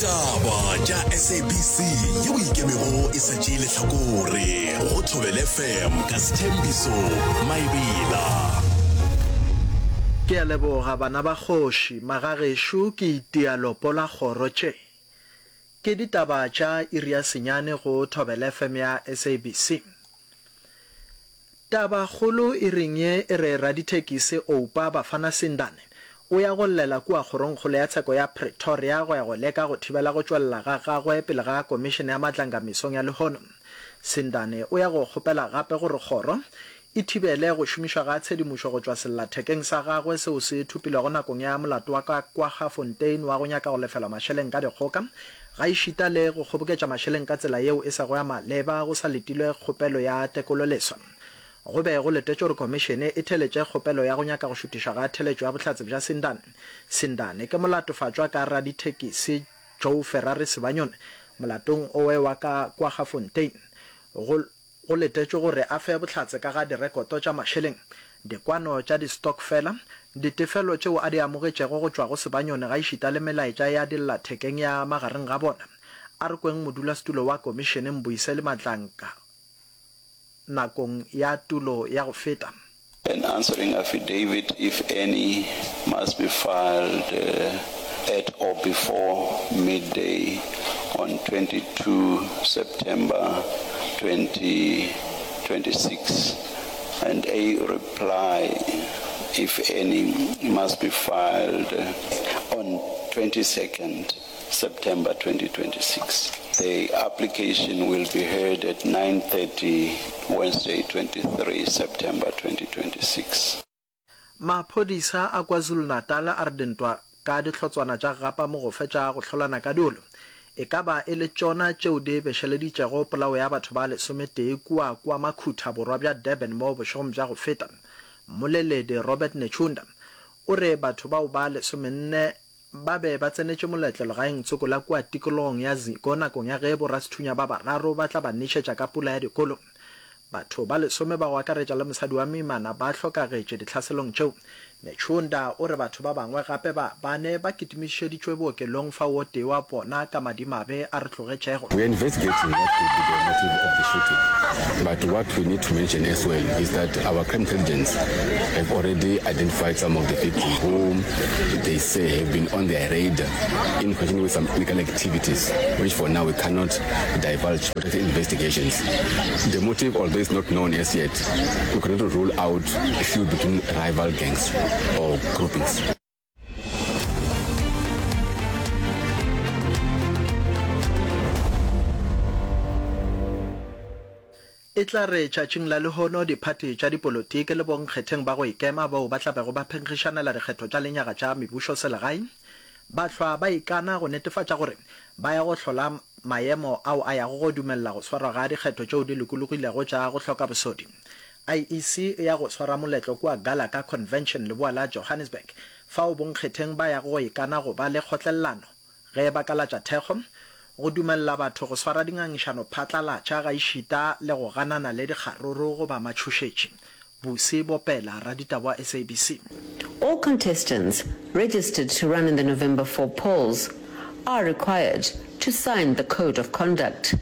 Ditaba tša SABC yeo e ikemego e sa tšee lehlakore go Thobela FM ka Sthembiso Maebela. Ke a leboga bana ba kgoši, magagešo ke itia lopo la kgoro tše. Ke ditaba tša iri ya senyane go Thobela FM ya SABC. Tabakgolo iring ye e re radithekisi Oupa Bafana Sindane o ya go llela kua Kgorongkgolo ya Tsheko ya Pretoria go ya go leka go thibela go tšwelela ga gagwe pele ga Komišene ya Matlanga mesong ya lehono. Sindane o ya go kgopela gape gore kgoro e thibele go šomišwa ga tshedimošo go tšwa sellathekeng sa gagwe seo se thopilwego nakong ya molato wa ka Kwaggafontein wa go nyaka go lefelwa mašeleng ka dikgoka gaešita le go kgoboketša mašeleng ka tsela yeo e sego ya maleba go sa letilwe kgopelo ya tekololeswa. Go be go letetšwe gore khomišene e theeletše kgopelo ya go nyaka go šuthišwa ga theeletšo ya bohlatse bja Sindane. Sindane ke molatofatšwa ka radithekisi Joe Ferrari Sibanyoni molatong owe wa ka Kwaggafontein. Go Go letetšwe gore a fe bohlatse ka ga direkoto tša mašeleng, dikwano tša distokfela, ditefelo tšeo a di amogetšego go tšwa go Sebanyoni gaešita le melaetša ya dillathekeng ya magareng ga bona. A re kweng modulasetulo wa komišene Mbuyiseli Madlanka nakong ya tulo ya go feta. An answering affidavit, if any, must be filed at or before midday on 22 September 2026, and a reply, if any, must be filed on 22nd September 2026. The application will be heard at 9:30 Wednesday 23 September 2026. Maphodisa a KwaZulu-Natal a re dintwa ka dihlotswana tša gapa mogofe tša go hlolana ka diolo e ka ba e le tšona tšeo di bešeleditšego polao ya batho ba lesometee kua KwaMakhutha borwa bja Durban mo bošegong bja go feta. Mmoleledi Robert Netshiunda o re batho bao ba lesomenne Ba be ba tsenetše moletlo legaeng tsoko la kua tikologong ya Ziko nakong ya ge borasethunya ba bararo ba tla ba nešetša ka pula ya dikolo. Batho ba lesome ba go akaretša le mosadi wa moimana ba hlokagetše ditlhaselong tšeo. Netshiunda o re batho ba bangwe gape ba bane ba kitimišeditšwe bookelong fao o tee wa bona ka madimabe a re tlogetšego. We are investigating what could be the motive of the shooting but what we need to mention as well is that our crime intelligence have already identified some of the people who they say have been on their radar in connection with some illegal activities which for now we cannot divulge for the investigations. The motive although is not known as yet we cannot rule out a feud between rival gangs or groupings. E tla re tšatšing la lehono diphathi tša dipolotiki le bonkgetheng ba go ikema bao ba tla bego ba phenkgišanela dikgetho tša lenyaga tša mebušoselegae ba hlwa ba ikana go netefatša gore ba ya go hlola maemo ao a yago go dumelela go swarwa ga dikgetho tšeo di lokologilego tša go hloka bosodi. IEC e ya go swara moletlo kua Gallagher Convention leboa la Johannesburg fao bonkgetheng ba yago go ikana go ba le kgotlelelano ge ba ka latša thekgo, go dumelela batho go swara dingangišano phatlalatša gaešita le go ganana le dikgaruru goba matšhošetši. Busi Bopela, raditaba wa SABC. All contestants registered to run in the November 4 polls are required to sign the Code of Conduct.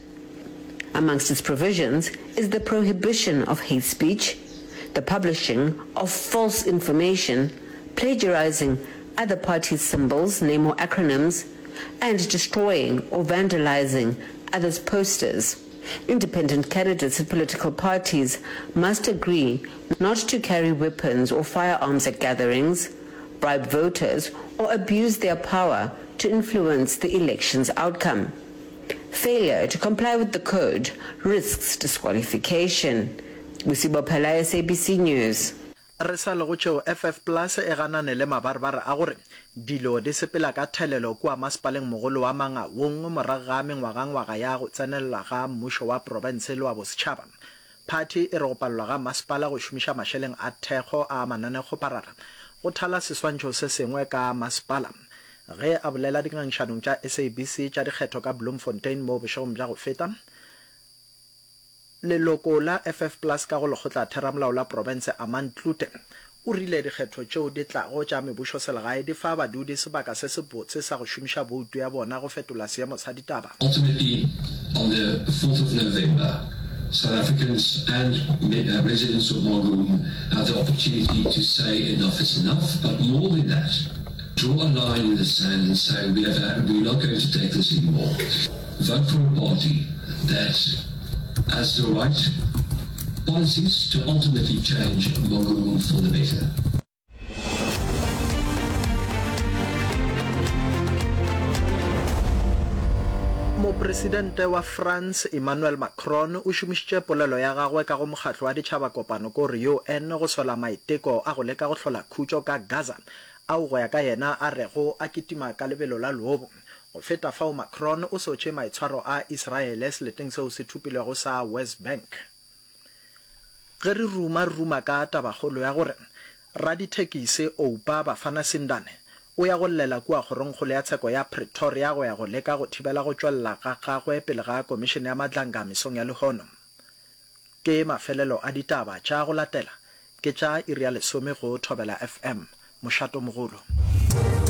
Amongst its provisions is the prohibition of hate speech, the publishing of false information, plagiarizing other parties' symbols, name or acronyms, and destroying or vandalizing others' posters. Independent candidates and political parties must agree not to carry weapons or firearms at gatherings, bribe voters, or abuse their power to influence the election's outcome. Failure to comply with the code risks disqualification. Busi Bophela, SABC News. Re sa le go tšeo, FF Plus e ganane le mabarebare a gore dilo di sepela ka thelelo kua masepaleng mogolo wa Mangaung morago ga mengwagangwaga ya go tsenelela ga mmušo wa profense le wa bosetšhaba. Phathi e re go palelwa ga masepala go šomiša mašeleng a thekgo a mananekgoparara go thala seswantšho se sengwe ka masepala. Ge a bolela dingangišanong tša SABC tša dikgetho ka Bloemfontein mo bošegong bja go feta, leloko la FF Plus ka go Lekgotlatheramolao la Profense Armand Cloete O rile dikgetho tšeo di tlago tša mebušoselegae di fa badudi sebaka se sebotse sa go šomiša boutu ya bona go fetola seemo sa ditaba. Ultimately, on the 4th of November, South Africans and residents of Mangaung have the opportunity to say enough is enough, but more than that, draw a line in the sand and say we have, we're not going to take this anymore. Vote for a party that has the right policies to ultimately change Mangaung for the better. Mopresidente wa France Emmanuel Macron o šomišitše polelo ya gagwe ka go Mokgatlo wa Ditšhaba Kopano ko re UN go sola maiteko a go leka go hlola khutšo ka Gaza ao go ya ka yena a rego a kitima ka lebelo la leobo. Go feta fao Macron o sotše maitshwaro a Israele seleteng seo se thopilwego sa West Bank. Ge re ruma re ruma ka tabakgolo ya gore radithekisi Oupa Bafana Sindane o ya go llela kua kgorongkgolo ya tsheko ya Pretoria go ya go leka go thibela go tšwelela ga gagwe pele ga komišene ya Madlanga mesong ya lehono. Ke mafelelo a ditaba tša go latela ke tša iri ya lesome go Thobela FM, mošatomogolo.